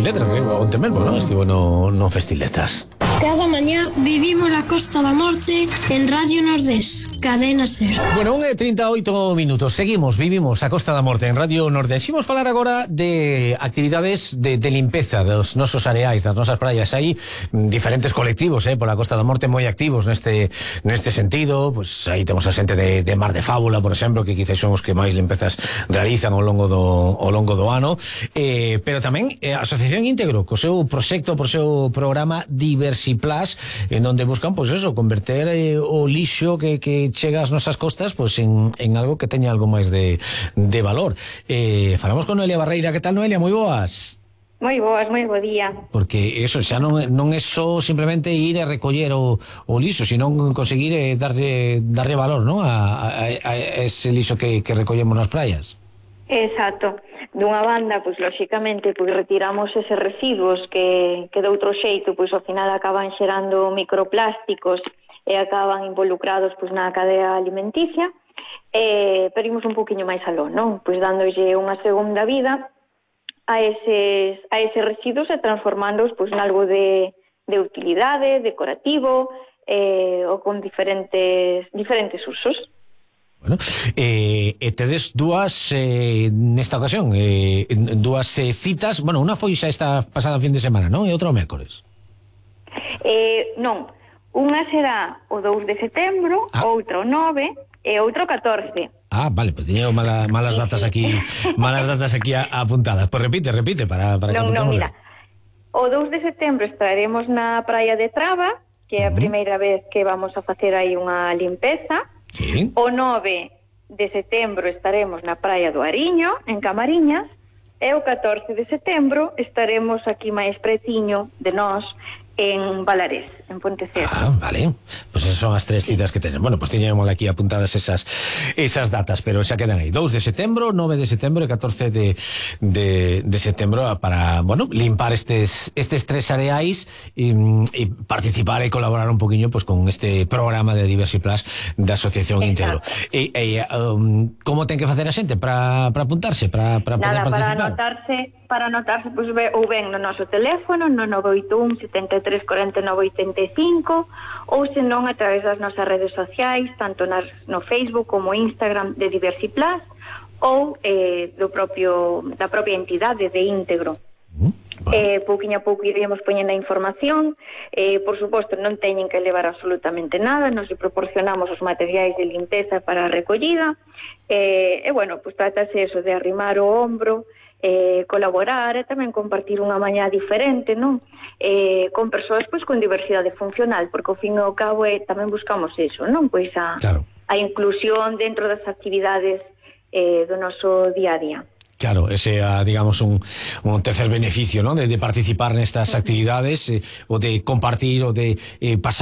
Festiletras, onte mesmo, non? Estivo no Festiletras. Cada mañá vivimos la Costa da Morte en Radio Nordés, Cadena Ser. Bueno, 1:38 minutos. Vivimos a Costa da Morte en Radio Nordés. Imos falar agora de actividades de limpeza dos nosos areais, das nosas praias. Hai diferentes colectivos, pola Costa da Morte moi activos neste sentido. Pues aí temos a xente de Mar de Fábula, por exemplo, que quizás son os que máis limpezas realizan ao longo do ano. Pero tamén a Asociación Íntegro, co seu proxecto, co seu programa Diversiplas, en donde buscan, pues eso, converter o lixo que chega ás nosas costas, pues en algo que teña algo máis de valor. Falamos con Noelia Barreira. Que tal, Noelia? Moi boas. Moi boas, moi bo día. Porque eso xa non é só simplemente ir a recoller o lixo, sino conseguir darlle valor, ¿no? a ese lixo que recollemos nas praias. Exacto. Dunha banda, pois lóxicamente, pois retiramos eses residuos que de outro xeito, pois ao final acaban xerando microplásticos e acaban involucrados pois na cadea alimenticia, pero imos un poquinho máis aló, non? Pois dándolle unha segunda vida a eses residuos e transformándoos pois nalgo de utilidade, decorativo, ou con diferentes usos. Bueno, tedes dúas nesta ocasión, dúas citas. Bueno, unha foi xa esta pasada fin de semana, non? E outra o mércores. Non, unha será o 2 de setembro, outra o 9 e outra o 14. Vale, pues tiño malas datas aquí apuntadas. Pues repite para que apuntemos. Non, mira. O 2 de setembro estaremos na praia de Traba, que é a primeira vez que vamos a facer aí unha limpeza. Sí. O 9 de setembro estaremos na praia do Ariño, en Camariñas, e o 14 de setembro estaremos aquí máis pretiño de nós, en Valarés, en Ponteceso. Vale. Pues esas son as tres citas que tenes. Bueno, pues tiñamos aquí apuntadas esas datas, pero xa quedan aí. 2 de setembro, 9 de setembro e 14 de setembro para, bueno, limpar estes tres areais e participar e colaborar un poquinho pues con este programa de Diversiplas da Asociación Íntegro. Como ten que facer a xente para apuntarse, para poder participar? Para anotarse, pois ou ben no noso teléfono, no 981 73 49 85, ou senón a través das nosas redes sociais, tanto no Facebook como Instagram de Diversiplas, ou da propia entidade de Íntegro. Pouquinho a pouco iremos poñendo a información. Por suposto, non teñen que levar absolutamente nada, nos proporcionamos os materiais de limpeza para a recollida, bueno, pues trátase eso de arrimar o ombro, colaborar e tamén compartir unha mañá diferente, non? Con persoas pois con diversidade funcional, porque ao fin e ao cabo tamén buscamos eso, non? Pois a inclusión dentro das actividades do noso día a día. Claro, ese é, digamos, un tercer beneficio, ¿no? De participar nestas actividades, o de compartir, o de pasar